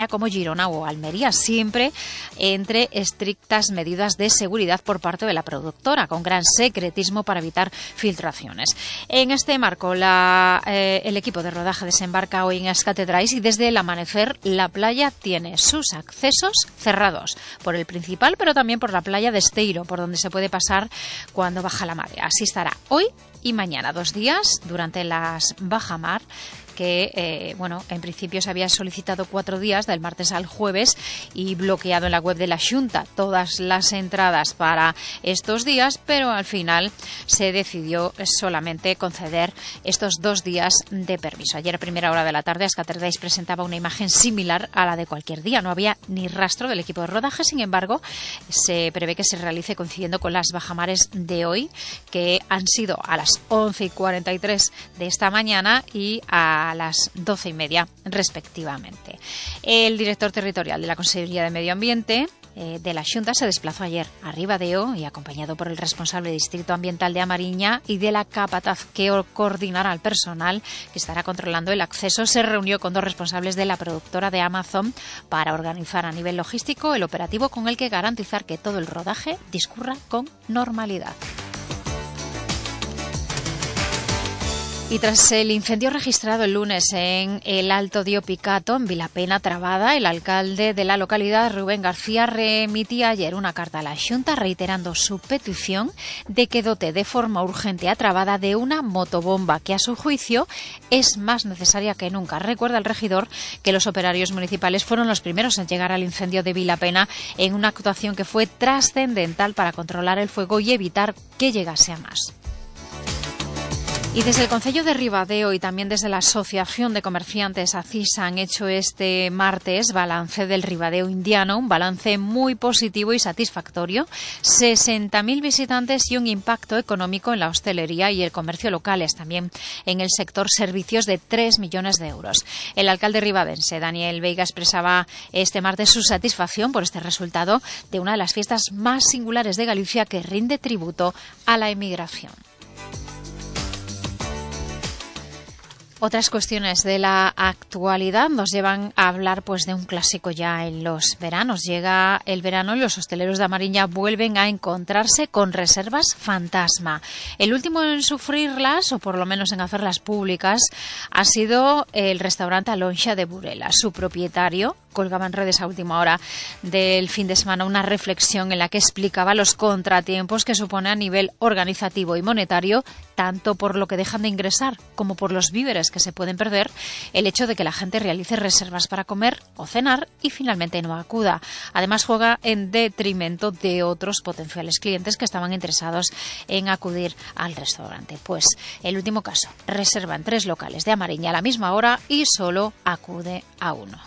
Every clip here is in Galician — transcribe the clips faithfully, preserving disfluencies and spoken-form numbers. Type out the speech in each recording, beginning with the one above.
España como Girona o Almería, siempre entre estrictas medidas de seguridad por parte de la productora, con gran secretismo para evitar filtraciones. En este marco, la, eh, el equipo de rodaje desembarca hoy en Escatedrais y desde el amanecer la playa tiene sus accesos cerrados por el principal, pero también por la playa de Esteiro, por donde se puede pasar cuando baja la marea. Así estará hoy y mañana, dos días durante las bajamar, que, eh, bueno, en principio se había solicitado cuatro días, del martes al jueves, y bloqueado en la web de la Xunta todas las entradas para estos días, pero al final se decidió solamente conceder estos dos días de permiso. Ayer a primera hora de la tarde, Escatedrais presentaba una imagen similar a la de cualquier día. No había ni rastro del equipo de rodaje, sin embargo, se prevé que se realice coincidiendo con las bajamares de hoy, que han sido a las once y cuarenta y tres de esta mañana y a a las doce y media respectivamente. El director territorial de la Consellería de Medio Ambiente eh, de la Xunta se desplazó ayer a Ribadeo y, acompañado por el responsable de Distrito Ambiental de A Mariña y de la capataz que coordinará al personal que estará controlando el acceso, se reunió con dos responsables de la productora de Amazon para organizar a nivel logístico el operativo con el que garantizar que todo el rodaje discurra con normalidad. Y tras el incendio registrado el lunes en el Alto Dio Picato, en Vilapena, Trabada, el alcalde de la localidad, Rubén García, remitía ayer una carta a la Xunta reiterando su petición de que dote de forma urgente a Trabada de una motobomba que, a su juicio, es más necesaria que nunca. Recuerda el regidor que los operarios municipales fueron los primeros en llegar al incendio de Vilapena en una actuación que fue trascendental para controlar el fuego y evitar que llegase a más. Y desde el Concello de Ribadeo y también desde la Asociación de Comerciantes ACISA han hecho este martes balance del Ribadeo indiano, un balance muy positivo y satisfactorio, sesenta mil visitantes y un impacto económico en la hostelería y el comercio locales, también en el sector servicios, de tres millones de euros. El alcalde ribadense, Daniel Veiga, expresaba este martes su satisfacción por este resultado de una de las fiestas más singulares de Galicia, que rinde tributo a la emigración. Otras cuestiones de la actualidad nos llevan a hablar pues de un clásico ya en los veranos. Llega el verano y los hosteleros de A Mariña vuelven a encontrarse con reservas fantasma. El último en sufrirlas, o por lo menos en hacerlas públicas, ha sido el restaurante Alonxa de Burela. Su propietario colgaba en redes a última hora del fin de semana una reflexión en la que explicaba los contratiempos que supone a nivel organizativo y monetario, tanto por lo que dejan de ingresar como por los víveres que se pueden perder, el hecho de que la gente realice reservas para comer o cenar y finalmente no acuda. Además, juega en detrimento de otros potenciales clientes que estaban interesados en acudir al restaurante. Pues el último caso, reserva en tres locales de A Mariña a la misma hora y solo acude a uno.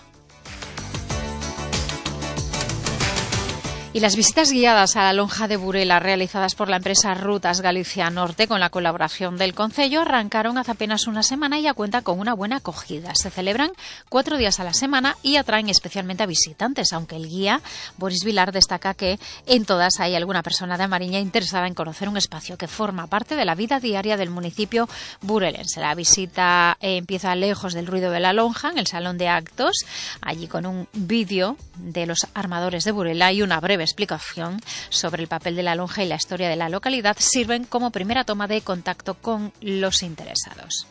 Y las visitas guiadas a la lonja de Burela, realizadas por la empresa Rutas Galicia Norte con la colaboración del Concello, arrancaron hace apenas una semana y ya cuenta con una buena acogida. Se celebran cuatro días a la semana y atraen especialmente a visitantes, aunque el guía, Boris Vilar, destaca que en todas hay alguna persona de A Mariña interesada en conocer un espacio que forma parte de la vida diaria del municipio burelense. La visita eh, empieza lejos del ruido de la lonja, en el salón de actos, allí con un vídeo de los armadores de Burela y una breve explicación sobre el papel de la lonja y la historia de la localidad sirven como primera toma de contacto con los interesados.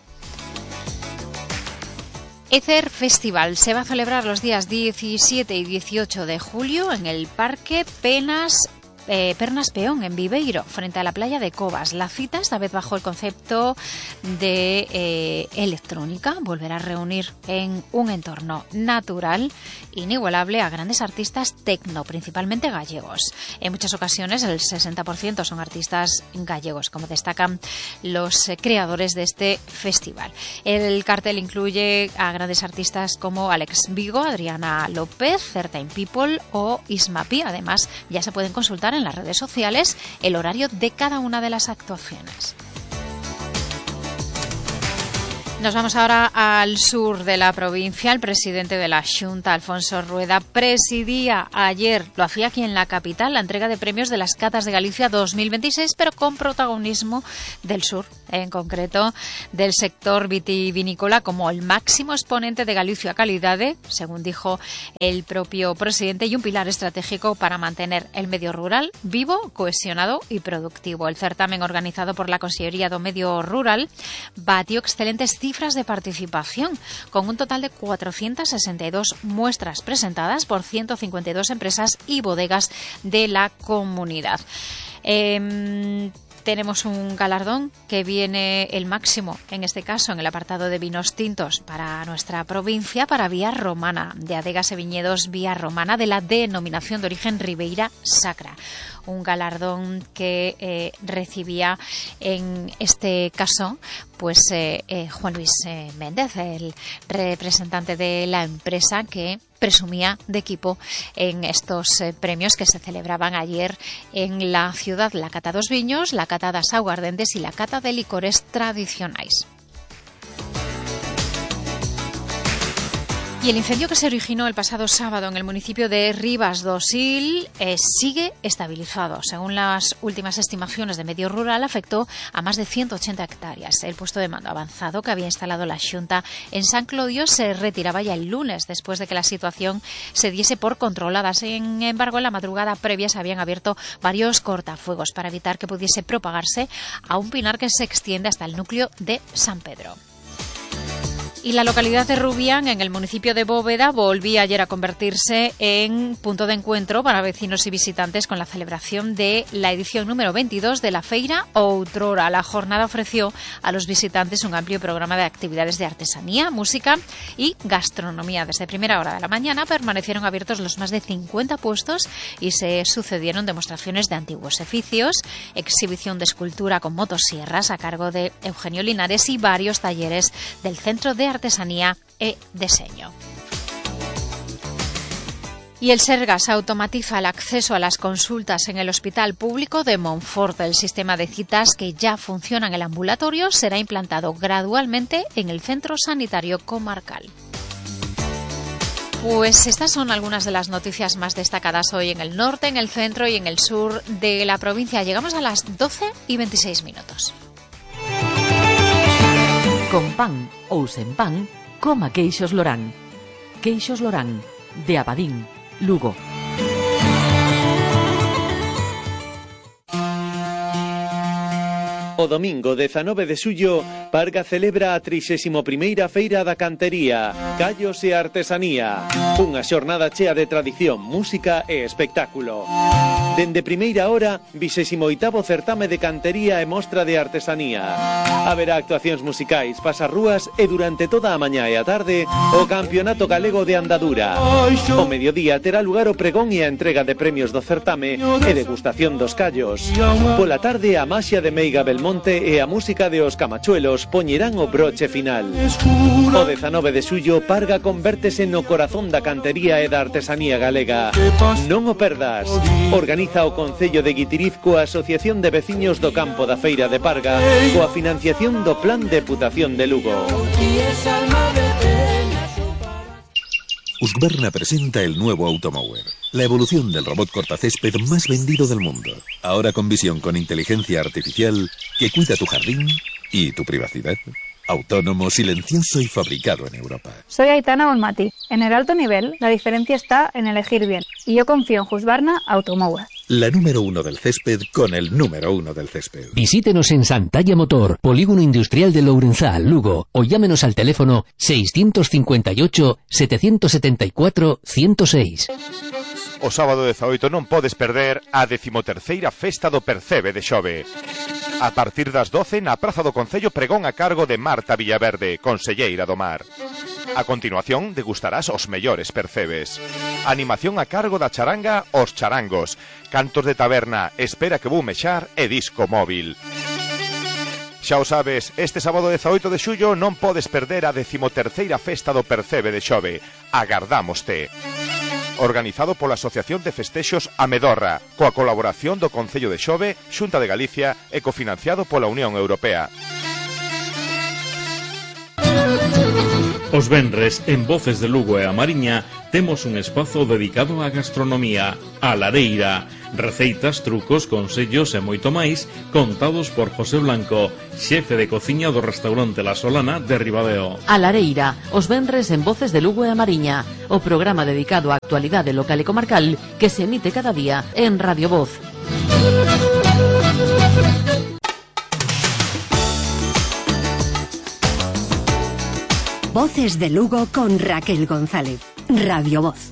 Ether Festival se va a celebrar los días diecisiete y dieciocho de julio en el Parque Penas Eh, Pernas Peón, en Viveiro, frente a la playa de Covas. La cita, esta vez bajo el concepto de eh, electrónica, volverá a reunir en un entorno natural inigualable a grandes artistas tecno, principalmente gallegos. En muchas ocasiones el sesenta por ciento son artistas gallegos, como destacan los eh, creadores de este festival. El cartel incluye a grandes artistas como Alex Vigo, Adriana López, Certain People o Ismapi. Además, ya se pueden consultar en las redes sociales el horario de cada una de las actuaciones. Nos vamos ahora al sur de la provincia. El presidente de la Xunta, Alfonso Rueda, presidía ayer, lo hacía aquí en la capital, la entrega de premios de las Catas de Galicia dos mil veintiséis, pero con protagonismo del sur en concreto del sector vitivinícola, como el máximo exponente de Galicia Calidade, según dijo el propio presidente, y un pilar estratégico para mantener el medio rural vivo, cohesionado y productivo. El certamen, organizado por la Consellería do Medio Rural, batió excelentes cifras de participación, con un total de cuatrocientas sesenta y dos muestras presentadas por ciento cincuenta y dos empresas y bodegas de la comunidad. Eh, Tenemos un galardón que viene el máximo, en este caso, en el apartado de vinos tintos para nuestra provincia, para Vía Romana, de Adegas y Viñedos Vía Romana, de la denominación de origen Ribeira Sacra. Un galardón que eh, recibía, en este caso, pues eh, eh, Juan Luis eh, Méndez, el representante de la empresa, que presumía de equipo en estos eh, premios que se celebraban ayer en la ciudad: la cata dos viños, la cata das aguardentes y la cata de licores tradicionais. Y el incendio que se originó el pasado sábado en el municipio de Rivas do Sil eh, sigue estabilizado. Según las últimas estimaciones de Medio Rural, afectó a más de ciento ochenta hectáreas. El puesto de mando avanzado que había instalado la Xunta en San Clodio se retiraba ya el lunes, después de que la situación se diese por controlada. Sin embargo, en la madrugada previa se habían abierto varios cortafuegos para evitar que pudiese propagarse a un pinar que se extiende hasta el núcleo de San Pedro. Y la localidad de Rubián, en el municipio de Bóveda, volvía ayer a convertirse en punto de encuentro para vecinos y visitantes con la celebración de la edición número veintidós de la Feira Outrora. La jornada ofreció a los visitantes un amplio programa de actividades de artesanía, música y gastronomía. Desde primera hora de la mañana permanecieron abiertos los más de cincuenta puestos y se sucedieron demostraciones de antiguos oficios, exhibición de escultura con motosierras a cargo de Eugenio Linares y varios talleres del Centro de Artesanía e Diseño. Y el Sergas automatiza el acceso a las consultas en el Hospital Público de Monfort. El sistema de citas, que ya funciona en el ambulatorio, será implantado gradualmente en el Centro Sanitario Comarcal. Pues estas son algunas de las noticias más destacadas hoy en el norte, en el centro y en el sur de la provincia. Llegamos a las doce y veintiséis minutos. Con pan ou sen pan, coma queixos Lorán. Queixos Lorán, de Abadín, Lugo. O domingo dezanove de xullo, Parga celebra a trixésima primeira Feira da Cantería, Callos e Artesanía. Unha xornada chea de tradición, música e espectáculo. Dende primeira hora, vixésimo oitavo certame de cantería e mostra de artesanía. Haberá actuacións musicais, pasarrúas e durante toda a mañá e a tarde o Campeonato Galego de Andadura. O mediodía terá lugar o pregón e a entrega de premios do certame e degustación dos callos. Pola tarde, a maxia de Meiga Belmonte e a música de Os Camachuelos poñerán o broche final. O dezanove de xullo, Parga convértese no corazón da cantería e da artesanía galega. Non o perdas. Organiza o Concello de Guitiriz coa Asociación de Veciños do Campo da Feira de Parga, coa financiación do Plan Deputación de Lugo. Husqvarna presenta el nuevo Automower, la evolución del robot cortacésped más vendido del mundo. Ahora con visión con inteligencia artificial que cuida tu jardín y tu privacidad. Autónomo, silencioso y fabricado en Europa. Soy Aitana Bonmati. En el alto nivel, la diferencia está en elegir bien. Y yo confío en Husqvarna Automower. La número uno del césped con el número uno del césped. Visítenos en Santalla Motor, Polígono Industrial de Lourenzá, Lugo, o llámenos al teléfono seiscientos cincuenta y ocho, setecientos setenta y cuatro, ciento seis. O sábado dezaoito non podes perder a decimoterceira Festa do Percebe de Xove. A partir das doce na Praza do Concello, pregón a cargo de Marta Villaverde, conselleira do Mar. A continuación degustarás os mellores percebes. Animación a cargo da charanga Os Charangos. Cantos de taberna, Espera que vou mexar e disco móvil. Xa o sabes, este sábado dezaoito de xullo non podes perder a decimoterceira Festa do Percebe de Xove. Agardámoste. Organizado pola Asociación de Festexos Amedorra, coa colaboración do Concello de Xove, Xunta de Galicia e cofinanciado pola Unión Europea. O Os venres, en Voces de Lugo e a Mariña, temos un espazo dedicado á gastronomía, a Lareira. Receitas, trucos, consellos e moito máis, contados por José Blanco, xefe de cociña do restaurante La Solana de Ribadeo. A Lareira, os venres en Voces de Lugo e a Mariña, o programa dedicado á actualidade local e comarcal que se emite cada día en Radio Voz. Voces de Lugo con Raquel González. Radio Voz.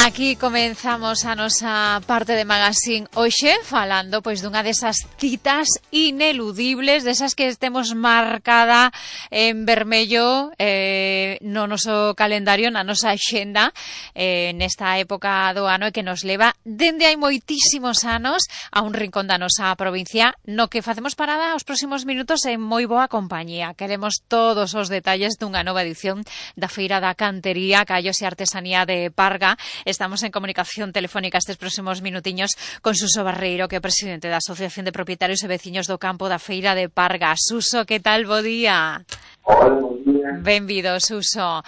Aquí comenzamos a nosa parte de Magazine hoxe falando pois dunha desas citas ineludibles, desas que temos marcada en vermello eh, no noso calendario, na nosa axenda eh, nesta época do ano e que nos leva dende hai moitísimos anos a un rincón da nosa provincia no que facemos parada os próximos minutos en moi boa compañía. Queremos todos os detalles dunha nova edición da Feira da Cantería, Callos e Artesanía de Parga. Estamos en comunicación telefónica estes próximos minutiños con Suso Barreiro, que é presidente da Asociación de Propietarios e Veciños do Campo da Feira de Parga. Suso, que tal? Bo día. Hola, bo día. Benvido, Suso.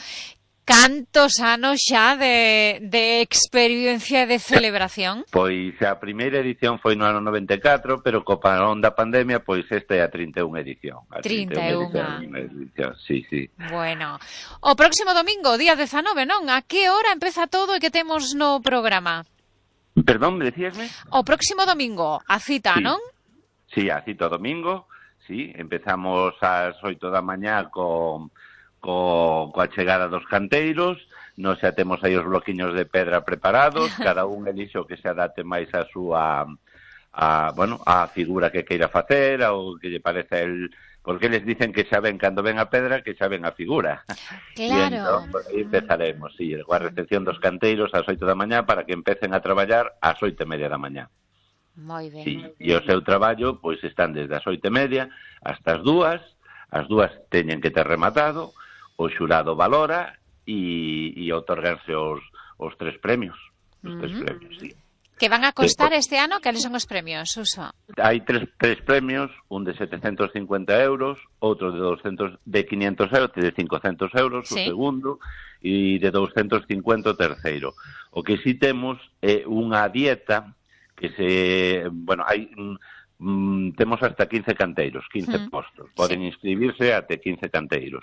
Cantos anos xa de, de experiencia e de celebración? Pois a primeira edición foi no ano noventa e catro, pero co parón da pandemia, pois esta é a trinta e unha edición. A trinta e unha. Edición, sí, sí. Bueno, o próximo domingo, día dezanove, non? A que hora empeza todo e que temos no programa? Perdón, me decíasme? O próximo domingo, a cita, sí. non? Sí, a cita domingo, sí. Empezamos ás oito da mañá con... Co, coa chegada dos canteiros, nos xa temos aí os bloquiños de pedra preparados, cada un elixo que se adapte máis a súa, a, bueno, a figura que queira facer, ou que lle parece el, porque les dicen que xa ven cando ven a pedra, que xa ven a figura. Claro. E entón, pues, aí empezaremos, sí, coa recepción dos canteiros ás oito da mañá para que empecen a traballar ás oito e media da mañá. Moi ben. Sí, e o seu traballo, pois, están desde as oito e media hasta as dúas, as dúas teñen que ter rematado, o xurado valora e, e outorgarse os, os tres premios. Os uh-huh. tres premios, sí. Que van a costar Después, este ano? Cales son os premios, Suso? Hai tres, tres premios, un de setecentos cincuenta euros, outro de doscientos, de quinientos euros, de cincocentos euros, sí. O segundo, e de doscientos cincuenta o terceiro. O que si temos é unha dieta que se... Bueno, hai... Mm, temos hasta quince canteiros, quince mm. postos. Poden sí. inscribirse até quince canteiros.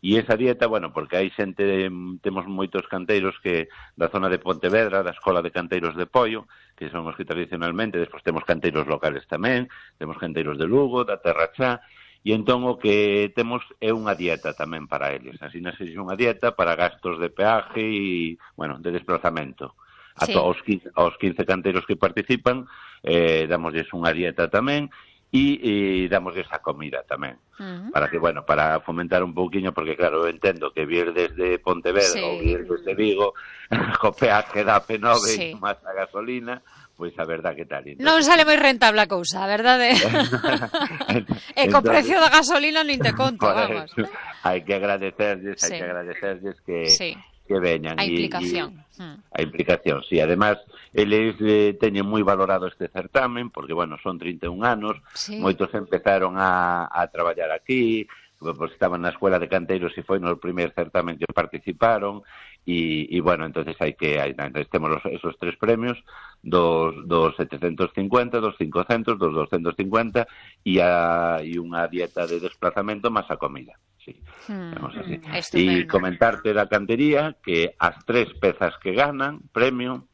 E esa dieta, bueno, porque hai xente, temos moitos canteiros que da zona de Pontevedra, da Escola de Canteiros de Poio, que son os que tradicionalmente, despois temos canteiros locales tamén, temos canteiros de Lugo, da Terra Chá, e entón o que temos é unha dieta tamén para eles. Así nase unha dieta para gastos de peaje e, bueno, de desplazamento. A sí. aos, quince, aos quince canteiros que participan, eh, damosles unha dieta tamén e, e damosles a comida tamén. Uh-huh. Para que, bueno, para fomentar un pouquiño, porque claro, eu entendo que vir desde Pontevedra sí. ou vir desde Vigo, co peaje da P nove sí. máis a gasolina, pois a verdad que tal. Entonces, non sale moi rentable a cousa, a verdade? E co precio da gasolina nin te conto, vamos. Hai que agradecerles, hai sí. que agradecerles que... Sí. que veñan. A implicación. E, e, a implicación, sí. Además, eles eh, teñen moi valorado este certamen, porque, bueno, son trinta e un anos, sí. Moitos empezaron a, a traballar aquí, pues, estaban na Escuela de Canteiros e foi no primer certamen que participaron, e, e bueno, entonces hai que, hai, entonces temos los, esos tres premios, dos, dos setecientos cincuenta, dos quinhentos, dos doscientos cincuenta, e, a, e unha dieta de desplazamento máis a comida. Sí, hmm, así. E comentarte da cantería que as tres pezas que ganan premio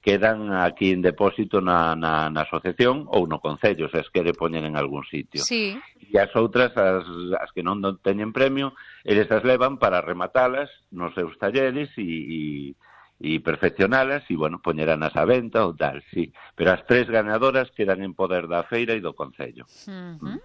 quedan aquí en depósito na, na, na asociación ou no concello, se as quere poñer en algún sitio. Sí. E as outras, as, as que non teñen premio, eles as levan para rematalas nos seus talleres e, e, e perfeccionalas e, bueno, poñeranas a venta ou tal, sí. Pero as tres ganadoras quedan en poder da feira e do concello. Uh-huh. Mm.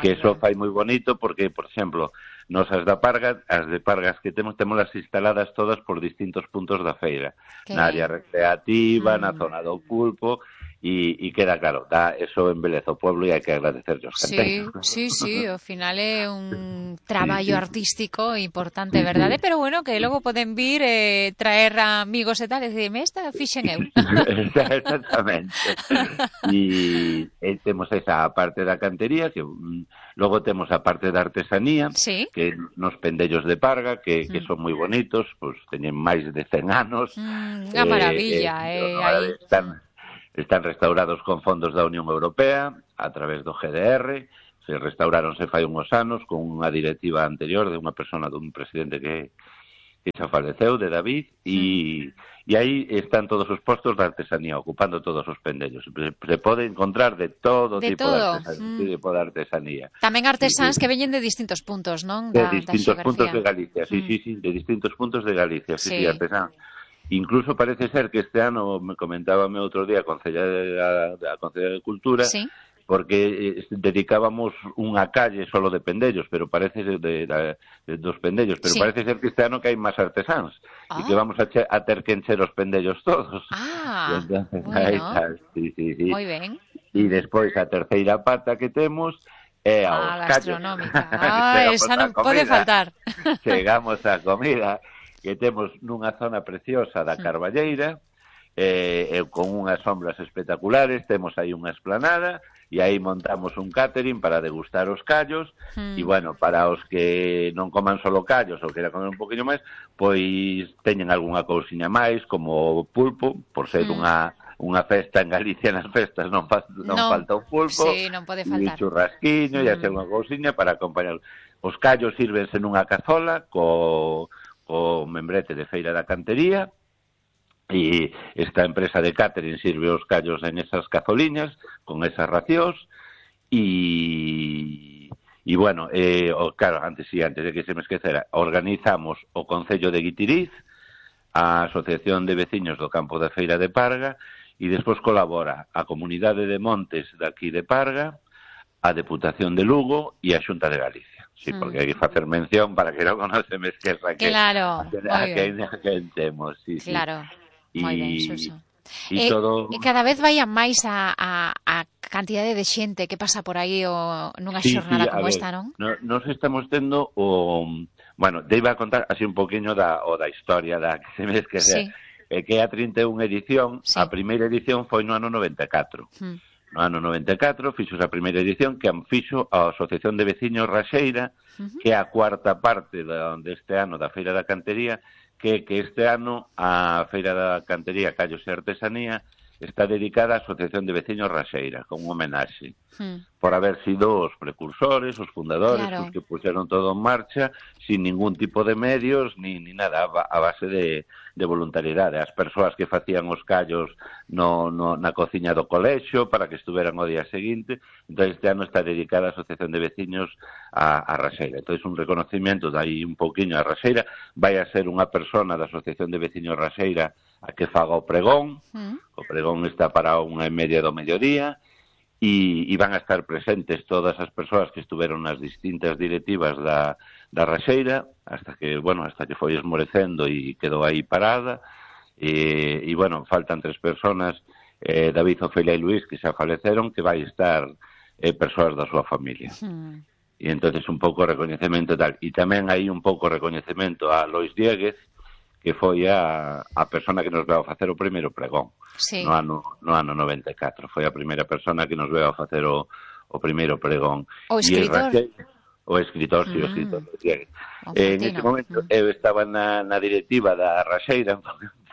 Que eso fai moi bonito porque, por exemplo, nos as da Parga, as de Pargas que temos, temolas instaladas todas por distintos puntos da feira. Okay. Na área recreativa, mm. na zona do pulpo, E, e queda claro, dá, eso embeleza o pueblo e hai que agradecerlle os canteiros. Sí, sí, sí, ao final é un traballo sí, sí. artístico importante, Sí, verdade? sí. Pero bueno, que logo poden vir eh, traer amigos e tal, e dicirme, esta fixen eu. Exactamente. E, e temos esa parte da cantería, que mm, logo temos a parte da artesanía, sí. que nos pendellos de Parga, que, que mm. son moi bonitos, pues, teñen máis de cen anos. Mm, unha maravilla, eh, eh, eh, aí. están, están restaurados con fondos da Unión Europea, a través do G D R, se restauráronse fai unhos anos con unha directiva anterior de unha persona, dun presidente que, que xa faleceu, de David, e, mm. e aí están todos os postos de artesanía, ocupando todos os pendellos. Se, se pode encontrar de todo de tipo todo. de artesanía, Mm. tipo de artesanía. Tamén artesáns sí, sí. que veñen de distintos puntos, non? De Da, distintos da puntos de Galicia, sí, mm. sí, sí, de distintos puntos de Galicia, sí, sí, sí, artesáns. Incluso parece ser que este ano, me comentábame outro día a Concelleira da Concelleira de Cultura, sí. porque eh, dedicábamos unha calle solo de pendellos, pero parece de, de, de, de dos pendellos, pero sí. parece ser que este ano que hai máis artesáns ah. e que vamos a, che, a ter que encher os pendellos todos. Ah, entonces, bueno. Aí está, sí, sí, sí. Moi ben. E despois a terceira pata que temos é a ah, os gastronómica. Ah, esa non pode faltar. Chegamos á comida, que temos nunha zona preciosa da Carballeira, eh, eh, con unhas sombras espectaculares, temos aí unha esplanada, e aí montamos un catering para degustar os callos, mm. e, bueno, para os que non coman solo callos ou queran comer un poquinho máis, pois teñen algunha cousiña máis, como pulpo, por ser mm. unha unha festa en Galicia, nas festas non, fa, non, non falta o pulpo, sí, non pode faltar. E churrasquiño, mm. e hacer unha cousiña para acompañar. Os callos sírvense nunha cazola, co... o membrete de Feira da Cantería, e esta empresa de catering sirve os callos en esas cazoliñas, con esas racións, e, e bueno, eh, o, claro, antes sí, antes de que se me esquecera, organizamos o Concello de Guitiriz, a Asociación de Veciños do Campo da Feira de Parga, e despois colabora a Comunidade de Montes daqui de Parga, a Deputación de Lugo e a Xunta de Galicia. Sí, porque hai que facer mención para que non conoce me esqueza que claro, a que, que, que temos, sí, claro, sí. moi ben, Suso. E, e, todo... e cada vez vai a máis a, a, a cantidade de xente que pasa por aí o, nunha sí, xornada sí, como ver, esta, non? No, nos estamos tendo o... Bueno, te iba a contar así un poquinho da, o da historia da que se me esqueza. Sí. Eh, que é a trinta e unha edición, sí. A primeira edición foi no ano noventa e catro. Hmm. No ano noventa e catro fixo a primeira edición que fixo a Asociación de Veciños Raxeira, uh -huh. que é a cuarta parte da, deste ano da Feira da Cantería, que, que este ano a Feira da Cantería, Callos e Artesanía está dedicada á Asociación de Veciños Raxeira, con un homenaxe, uh-huh. por haber sido os precursores, os fundadores, claro. os que puxeron todo en marcha, sin ningún tipo de medios, ni, ni nada, a base de, de voluntariedade. As persoas que facían os callos no, no, na cociña do colexio para que estuveran o día seguinte. Entón, este ano está dedicada a Asociación de Veciños a, a Raxeira. Entón, un reconocimiento de aí un poquinho a Raxeira. Vai a ser unha persona da Asociación de Veciños Raxeira a que faga o pregón. Mm. O pregón está para unha e media do mediodía. E, e van a estar presentes todas as persoas que estuveron nas distintas directivas da, da Raxeira, hasta que, bueno, hasta que foi esmorecendo e quedou aí parada. E, e bueno, faltan tres personas, eh, David, Ofelia e Luís, que xa faleceron, que vai estar eh, persoas da súa familia. Mm. E entonces un pouco recoñecemento tal. E tamén hai un pouco recoñecemento a Lois Dieguez, que foi a, a persona que nos veu a facer o primeiro pregón. Sí. No ano, no ano noventa e catro. Foi a primeira persona que nos veu a facer o, o primeiro pregón. O escritor. E o escritor, sí, mm. o escritor. O en ese momento mm. eu estaba na, na directiva da Raxeira,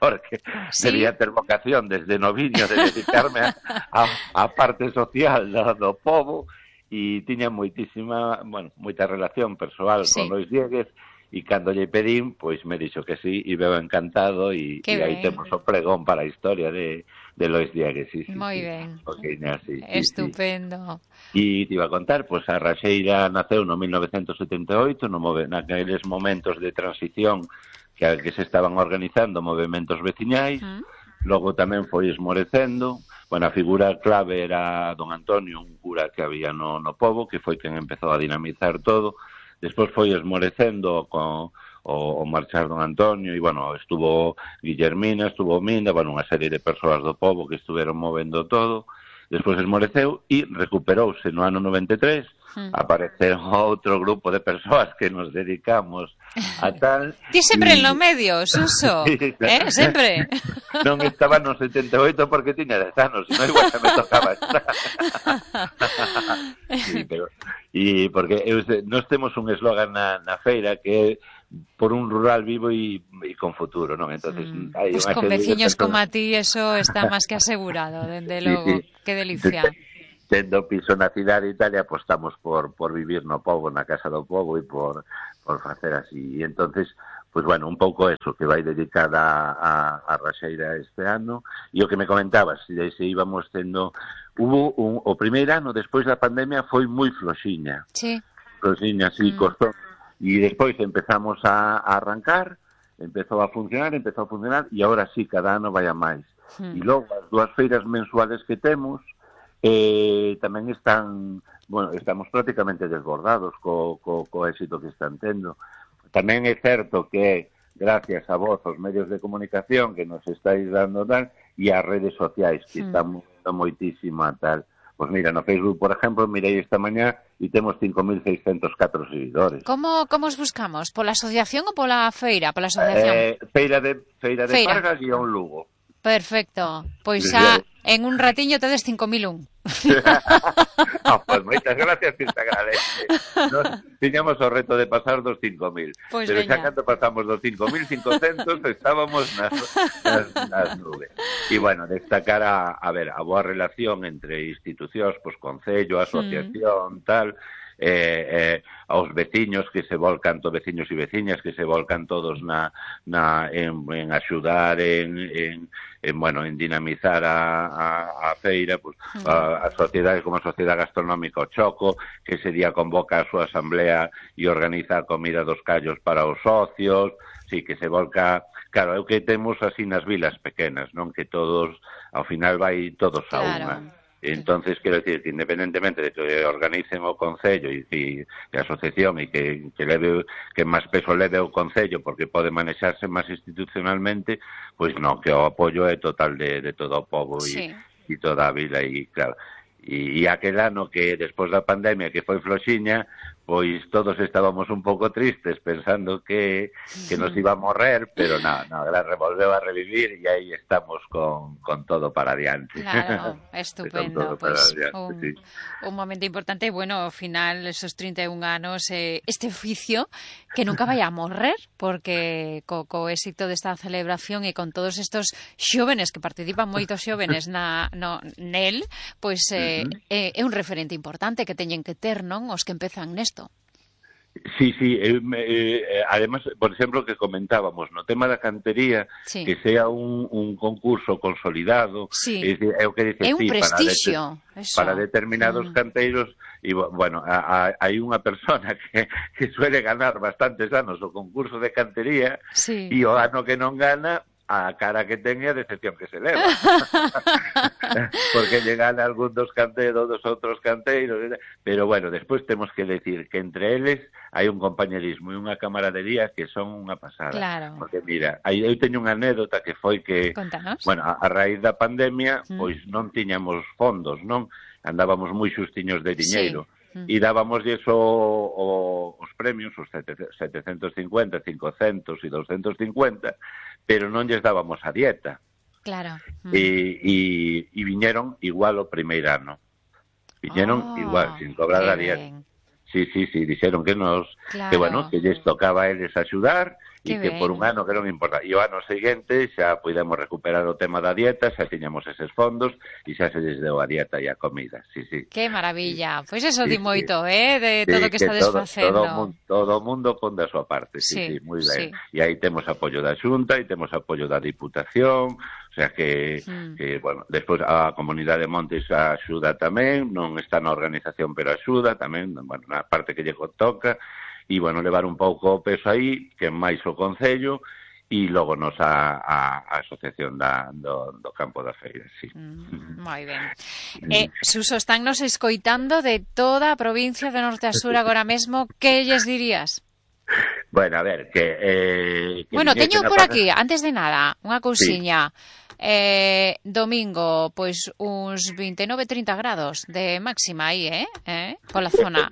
porque ¿sí? debía ter vocación desde noviño de dedicarme a, a, a parte social do, do povo, e tiña moitísima, bueno, moita relación persoal sí. con Lois Dieguez. E cando lle pedín, pois me dixo que sí, e veo encantado, e, e aí temos o pregón para a historia de, de Lois Dieguez. Sí, sí, moi sí, ben. Okay, sí, estupendo. Sí. E te iba a contar, pois a Raxeira naceu no mil novecentos setenta e oito, no move, naqueles momentos de transición que, que se estaban organizando movementos veciñais, uh -huh. logo tamén foi esmorecendo. Bueno, a figura clave era don Antonio, un cura que había no, no pobo, que foi quen empezou a dinamizar todo. Despois foi esmorecendo co, o, o marchar don Antonio, e, bueno, estuvo Guillermina, estuvo Minda, bueno, unha serie de persoas do pobo que estuveron movendo todo. Despois esmoreceu e recuperouse no ano noventa e tres, mm. apareceron outro grupo de persoas que nos dedicamos a tal... Ti sempre y... en lo medio, Suso, sí, eh, sempre. Non estaba no setenta e oito porque tiña dez anos, non igual que me tocaba estar. Sí, pero... E porque eu, nós temos un eslogan na, na feira que é por un rural vivo e, e con futuro, non? Entonces, mm. hai pues con veciños como a ti eso está máis que asegurado, dende logo. Sí, sí. Que delicia. Tendo piso na cidade e tal, e apostamos por, por vivir no pobo, na casa do pobo e por, por facer así. E entonces, pues bueno, un pouco eso, que vai dedicada a, a Raxeira este ano. E o que me comentabas, se, se íbamos tendo... Hubo un, o primeiro ano, despois da pandemia, foi moi floxiña. Sí. Floxiña, sí, mm. costou. E despois empezamos a, a arrancar, empezou a funcionar, empezou a funcionar, e agora sí, cada ano vai a máis. Mm. E logo, as dúas feiras mensuales que temos, eh, tamén están, bueno, estamos prácticamente desbordados co, co, co éxito que están tendo. Tamén é certo que, gracias a vos, os medios de comunicación que nos estáis dando tal, e as redes sociais, que mm. estamos moitísimo a tal. Pois mira, no Facebook, por exemplo, mirei esta mañá e temos cinco mil seiscentos catro seguidores. Como, como os buscamos? Pola asociación ou pola feira? Pola asociación? Eh, feira de, feira de feira. Pargas e un Lugo. Perfecto. Pois xa en un ratiño tedes cinco mil un. Oh, pues moitas gracias, que te agradece. Nos tiñamos o reto de pasar dos cinco mil, pues pero veña. Xa cando pasamos dos cinco mil cincocentos estábamos nas, nas, nas nubes. E, bueno, destacar a, a ver, a boa relación entre institucións, pues, concello, asociación, mm. tal, eh, eh, aos veciños que se volcan, todos veciños e veciñas que se volcan todos na, na en, en axudar, en, en, en, bueno, en dinamizar a, a, a feira, pues, a, a sociedade como a Sociedade Gastronómica o Choco, que ese día convoca a súa asamblea e organiza a comida dos callos para os socios, sí, que se volca, claro, é o que temos así nas vilas pequenas, non? Que todos, ao final vai todos a claro. Unha. Entonces, quero decir que independentemente de que organicen o Concello e, e, e a asociación e que, que, leve, que máis peso leve o Concello porque pode manexarse máis institucionalmente, pois non, que o apoio é total de, de todo o povo sí. e, e toda a vila e claro. E, e aquel ano que despois da pandemia que foi floxiña, pois todos estábamos un pouco tristes pensando que, que nos iba a morrer, pero non, no, no, revolveu a revivir e aí estamos con, con todo para adiante. Claro, estupendo. Pues, un, sí. un momento importante, bueno, ao final, esos trinta e un anos, eh, este oficio que nunca vai a morrer, porque co, co éxito desta celebración e con todos estos xóvenes que participan moitos xóvenes na, no, nel, pois eh, uh -huh. é, é un referente importante que teñen que ter, non? Os que empezan nesto. Sí, sí, eh, eh, además, por exemplo, que comentábamos, no tema da cantería, sí. que sea un, un concurso consolidado, sí. é, é o que dice, é un sí, prestigio, para, de, para determinados mm. canteiros, e, bueno, hai unha persona que, que suele ganar bastantes anos o concurso de cantería, sí. e o ano que non gana, a cara que ten e a decepción que se leva. Porque llegan algún dos canteiros, dos outros canteiros, pero bueno, despois temos que decir que entre eles hai un compañerismo e unha camaradería que son unha pasada. Claro. Porque mira, eu teño unha anécdota que foi que, Contanos. bueno, a, a raíz da pandemia, mm. pois non tiñamos fondos, non? Andábamos moi xustiños de diñeiro. Sí. E dábamos eso o, os premios, os setecentos cincuenta, cincocentos e doscientos cincuenta, pero non lles dábamos a dieta. Claro. Mm. E, e, e viñeron igual o primeiro ano. Viñeron oh, igual, sin cobrar a dieta. Sí, sí, sí, dixeron que nos, claro. que bueno, que lles tocaba a eles axudar, e que ben. Por un ano que non importa. E o ano seguinte xa podemos recuperar o tema da dieta, xa tiñamos eses fondos e xa se les deu a dieta e a comida. Sí, sí. Que maravilla. Pois pues eso sí, di moito, sí. eh, de sí, todo o que, que está desfacendo. Todo, todo, todo o mundo pon da súa parte, sí, sí, sí moi ben. Sí. E aí temos apoio da Xunta e temos apoio da Diputación, o sea que, mm. que bueno, despois a Comunidade de Montes axuda tamén, non está na organización pero axuda tamén, bueno, na parte que lle toca. E, bueno, levar un pouco o peso aí, que máis o Concello, e logo nos a, a, a asociación da, do, do campo da feira, sí. Mm, moi ben. Eh, Suso, están nos escoitando de toda a provincia de Norte a Sur agora mesmo, que lles dirías? Bueno, a ver, que... Eh, que bueno, teño por pasa... aquí, antes de nada, unha cousiña. Sí. Eh, domingo, pois uns vinte e nove trinta grados de máxima aí, eh? eh? Pola zona.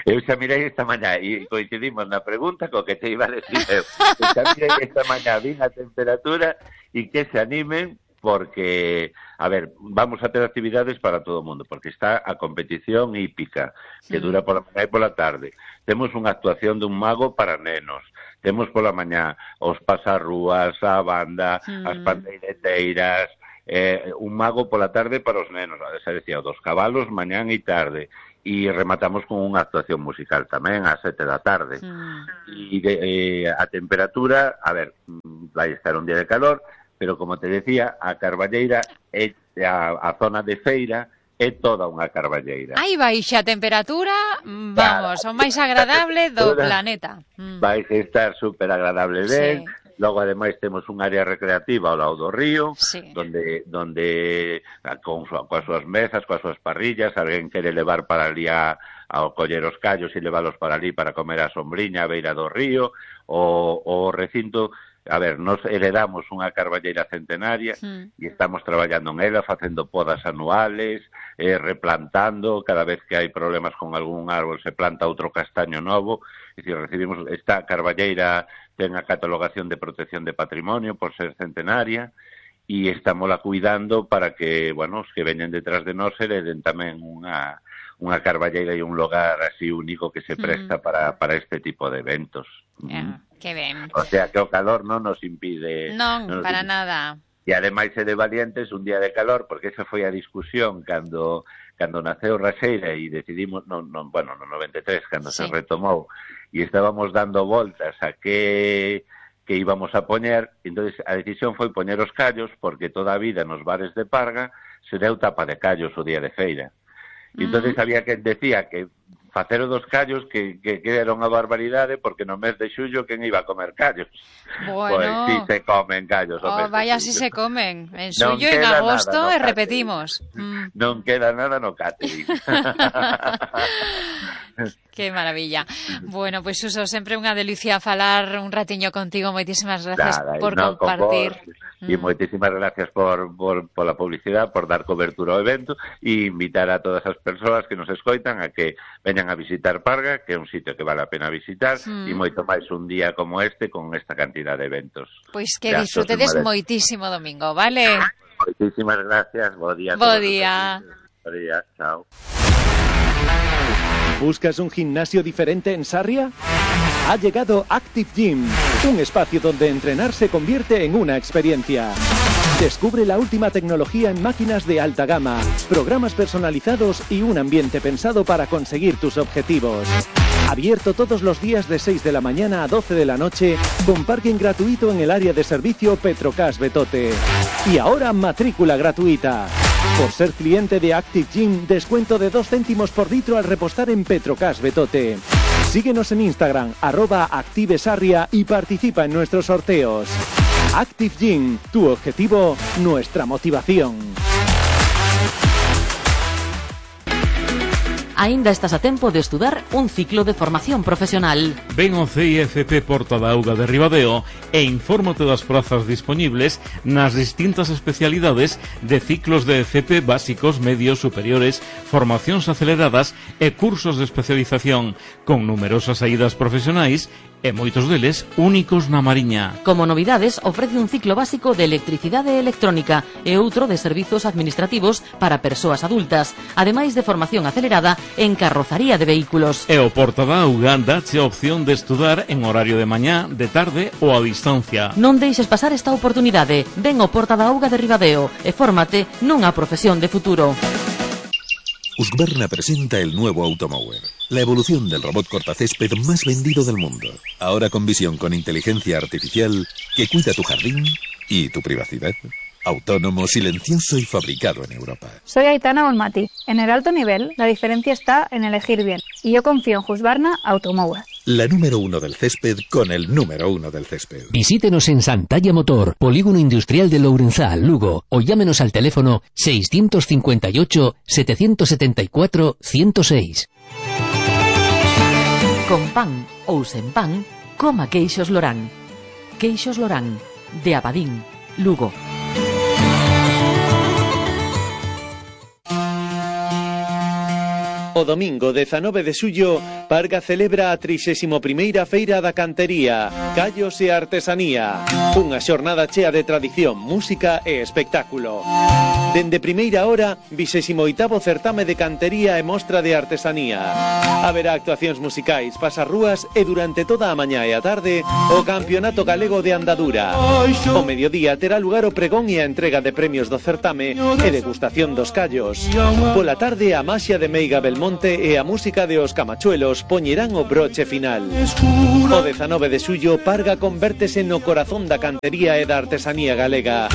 Eu xa mirei esta mañá e coincidimos na pregunta co que te iba a decir eu. Eu xa mirei esta mañá, vin a temperatura e que se animen porque, a ver, vamos a ter actividades para todo o mundo, porque está a competición hípica, que dura pola mañá e pola tarde. Temos unha actuación dun mago para nenos. Temos pola mañá os pasarrúas, a banda, mm. as pandeireteiras, eh, un mago pola tarde para os nenos, xa decía, dos cabalos, mañán e tarde. E rematamos con unha actuación musical tamén ás sete da tarde. Mm. E de, eh, a temperatura, a ver, vai estar un día de calor, pero como te decía, a Carballeira é a, a zona de feira é toda unha carballeira. Aí baixa a temperatura, vamos, claro, o máis agradable do planeta. Mm. Vai estar super agradable ben. Sí. Logo, ademais, temos un área recreativa ao lado do río, sí. donde, donde con, coas súas mesas, coas súas parrillas, alguén quere levar para ali a, ao coller os callos e leválos para ali para comer a sombriña a beira do río, o, o recinto... A ver, nos heredamos unha carballeira centenaria mm. e estamos traballando en ela, facendo podas anuales, eh, replantando, cada vez que hai problemas con algún árbol se planta outro castaño novo, é dicir, recibimos esta carballeira ten a catalogación de protección de patrimonio por ser centenaria e estámola cuidando para que, bueno, os que veñen detrás de nós hereden tamén unha unha carballeira e un lugar así único que se presta mm. para, para este tipo de eventos. Yeah, mm. que ben. O sea, que o calor non nos impide... Non, non nos para impide. nada. E ademais é de valientes un día de calor, porque esa foi a discusión cando cando naceu Raxeira e decidimos, non, non, bueno, no noventa e tres, cando sí. se retomou, e estábamos dando voltas a que... que íbamos a poñer, entonces a decisión foi poñer os callos, porque toda a vida nos bares de Parga se deu tapa de callos o día de feira. E entonces había quen decía que facer o dos callos que, que, que era unha barbaridade porque no mes de xullo quen iba a comer callos. Bueno, pois si se comen callos. Oh, vaya si se comen. En xullo, en agosto, e no repetimos. Mm. Non queda nada no catering. Que maravilla. Bueno, pois pues, Suso, sempre unha delicia falar un ratiño contigo. Moitísimas gracias Nada, por no, compartir. Con E mm. moitísimas gracias por, por, por la publicidade, por dar cobertura ao evento e invitar a todas as persoas que nos escoitan a que veñan a visitar Parga, que é un sitio que vale a pena visitar, mm. e moito máis un día como este con esta cantidad de eventos. Pois que disfrutedes moitísimo domingo, vale? Moitísimas gracias, bo día. Bo día. Bo día, chao. ¿Buscas un gimnasio diferente en Sarria? Ha llegado Active Gym, un espacio donde entrenar se convierte en una experiencia. Descubre la última tecnología en máquinas de alta gama, programas personalizados y un ambiente pensado para conseguir tus objetivos. Abierto todos los días de seis de la mañana a doce de la noche, con parking gratuito en el área de servicio Petrocas Betote. Y ahora matrícula gratuita. Por ser cliente de Active Gym, descuento de dos céntimos por litro al repostar en Petrocas Betote. Síguenos en Instagram, arroba ActiveSarria y participa en nuestros sorteos. Active Gym, tu objetivo, nuestra motivación. Aínda estás a tempo de estudar un ciclo de formación profesional. Ven ao C I F P Porta da Auga de Ribadeo e infórmate das prazas dispoñibles nas distintas especialidades de ciclos de F P básicos, medios, superiores, formacións aceleradas e cursos de especialización, con numerosas saídas profesionais e moitos deles únicos na Mariña. Como novidades, ofrece un ciclo básico de electricidade electrónica e outro de servizos administrativos para persoas adultas, ademais de formación acelerada en carrozaría de vehículos. E o Porta da Auga dache a opción de estudar en horario de mañá, de tarde ou a distancia. Non deixes pasar esta oportunidade. Ven ao Porta da Auga de Ribadeo e fórmate nunha profesión de futuro. Husqvarna presenta el nuevo Automower, la evolución del robot cortacésped más vendido del mundo. Ahora con visión con inteligencia artificial que cuida tu jardín y tu privacidad. Autónomo, silencioso y fabricado en Europa. Soy Aitana Olmati. En el alto nivel, la diferencia está en elegir bien. Y yo confío en Husqvarna Automower. La número uno del césped con el número uno del césped. Visítenos en Santalla Motor, Polígono Industrial de Lourenzal, Lugo, o llámenos al teléfono seiscientos cincuenta y ocho, setecientos setenta y cuatro, ciento seis. Con pan ou sen pan, Coma queixos Lorán. Queixos Lorán, de Abadín, Lugo. O domingo dezanove de xullo, Parga celebra a trixésima primeira Feira da Cantería, Callos e Artesanía, unha xornada chea de tradición, música e espectáculo. Dende primeira hora, vixésimo oitavo certame de cantería e mostra de artesanía. Haberá actuacións musicais, pasarrúas e durante toda a mañá e a tarde o Campeonato Galego de Andadura. O mediodía terá lugar o pregón e a entrega de premios do certame e degustación dos callos. Pola tarde a maxia de Meiga Belmonte e a música de Os Camachuelos poñerán o broche final. O dezanove de xullo, Parga convértese no corazón da cantería e da artesanía galega.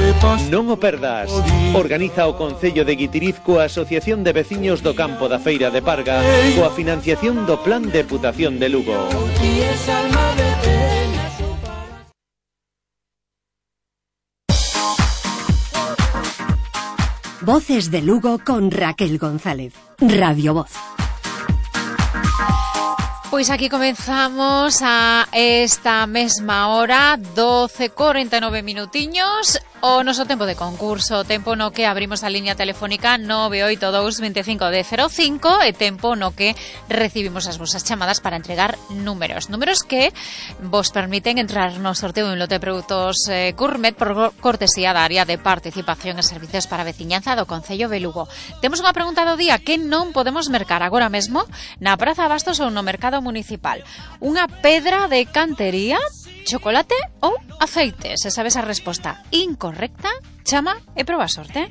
Non o perdas. Organiza o Concello de Guitiriz coa Asociación de Veciños do Campo da Feira de Parga coa financiación do Plan Deputación de Lugo. Voces de Lugo con Raquel González. Radio Voz. Pois aquí comenzamos a esta mesma hora, doce cuarenta y nueve minutiños, o noso tempo de concurso, tempo no que abrimos a liña telefónica nove oito dous veinticinco de cero cinco e tempo no que recibimos as vosas chamadas para entregar números, números que vos permiten entrar no sorteo de un lote de produtos eh, gourmet por cortesía da área de participación e servicios para a veciñanza do Concello de Lugo. Temos unha pregunta do día que non podemos mercar agora mesmo na Praza Bastos ou no Mercado Municipal. Unha pedra de cantería, chocolate ou aceite? Se sabes a resposta incorrecta, chama e proba a sorte.